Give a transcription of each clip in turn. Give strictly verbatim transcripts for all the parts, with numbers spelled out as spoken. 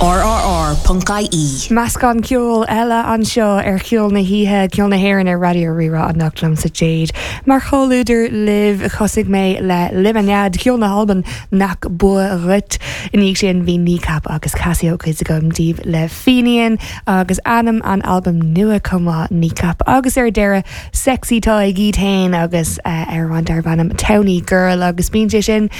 rrr.ie. Meascán ceoil eile anseo ar Cheol na hOíche Ceol na hÉireann ar Raidió Rí-Rá anocht liomsa Jade. Mar chomhluadar libh thosaigh mé le Lemonade ceol na hAlban nach bua dhuit. Ina dhiaidh sin bhí Kneecap agus Casio cuid agam daoibh le Fenian agus ainm an albam nua cumá Kneecap agus ar deireadh Sexy Tadhg iad féin agus uh, ar an darb ainm Towny Girl agus bíonn sé sin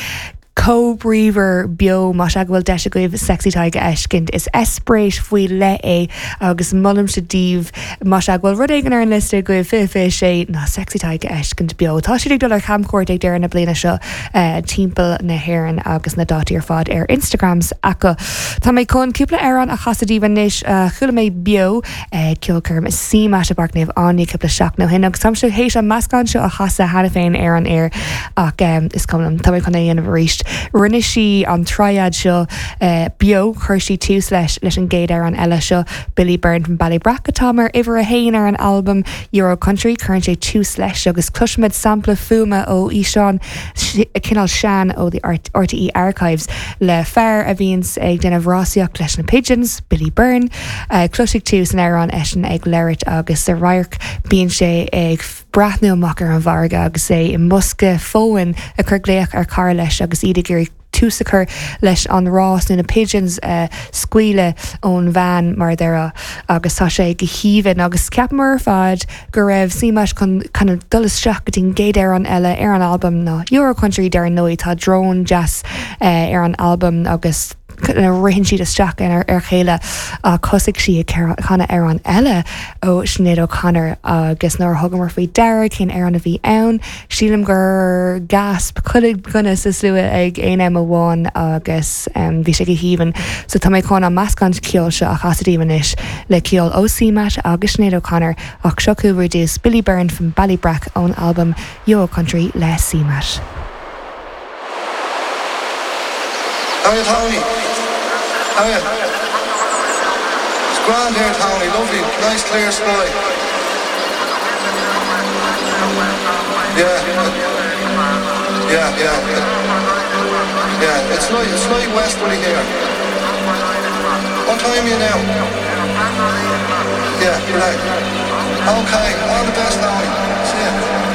chomh bríomhar beo má go bhfuil deis agaibh Sexy Tadhg a fheiscint is eispéireas faoi leith é agus molaimse daoibh má go bhfuil rud éigin ar an liosta agaibh fiche fiche sé ná Sexy Tadhg a fheiscint beo. Tá siad ag dul ar chamchuairt ag deireadh na bliana seo uh, timpeall na hÉireann agus na dátaí ar fad ar Instagrams acu. Tá mé chun cúpla amhrán a chasadh daoibh anois uh, chuala mé beo uh, ceolchoirm CMAT i bPáirc Naomh Áine cúpla seachtain ó shin agus táim théis an meascán seo a chasadh cheana féin ar an aer ach um, is cuma tá mé chun é dhéanamh arís. Rinne sí an triad seo uh, beo chuir sí tús leis leis an gcéad amhrán eile seo Billy Byrne from Ballybrack atá mar uimhir a haon ar an album Euro Country chuir sé tús leis agus cloisfimid sampla fuaime ó fhíseán cineál sean ó the RTE Archives le fear a bhíonns ag déanamh rásaíocht leis na Pigeons, Billy Byrne, uh, cloisfidh tú san amhrán eisean ag labhairt agus sa radharc bíonn sé ag breathnú amach ar an bhfarraige agus é i mbosca fóin ag cur glaoch ar chara leis agus iad ag iarraidh tús a chur leis an rás nó na pigeons uh, scaoileadh ón veain mar deire agus tá sé go haoibhinn agus ceapamar ar fad go raibh CMAT chun kind of dul isteach go dtí an gcéad amhrán eile ar an album ná Euro Country dar ndóigh tá drone jazz uh, ar an album agus ritheann siad isteach ar ar chéile a thosaigh sí ag canadh amhrán eile ó Sinéad O'Connor agus nuair a thugamar faoi deara cén amhrán a bhí ann, sílim gur gasp chuile dhuine sa slua ag aon am amháin agus um, bhí sé go haoibhinn, so tá mé chun an meascán ceoil seo a chasadh daoibh anois le ceol ó CMAT agus Sinéad O'Connor ach seo chugaibh ar dtús Billy Byrne from Ballybrack ón album Euro Country le CMAT. Hiya Tony. Hiya. It's grand here, Tony. Lovely, nice clear sky. Yeah. Yeah, yeah. Yeah, it's light, it's light westerly here. What time are you now? Yeah, right. Okay, all the best, Tony. See ya.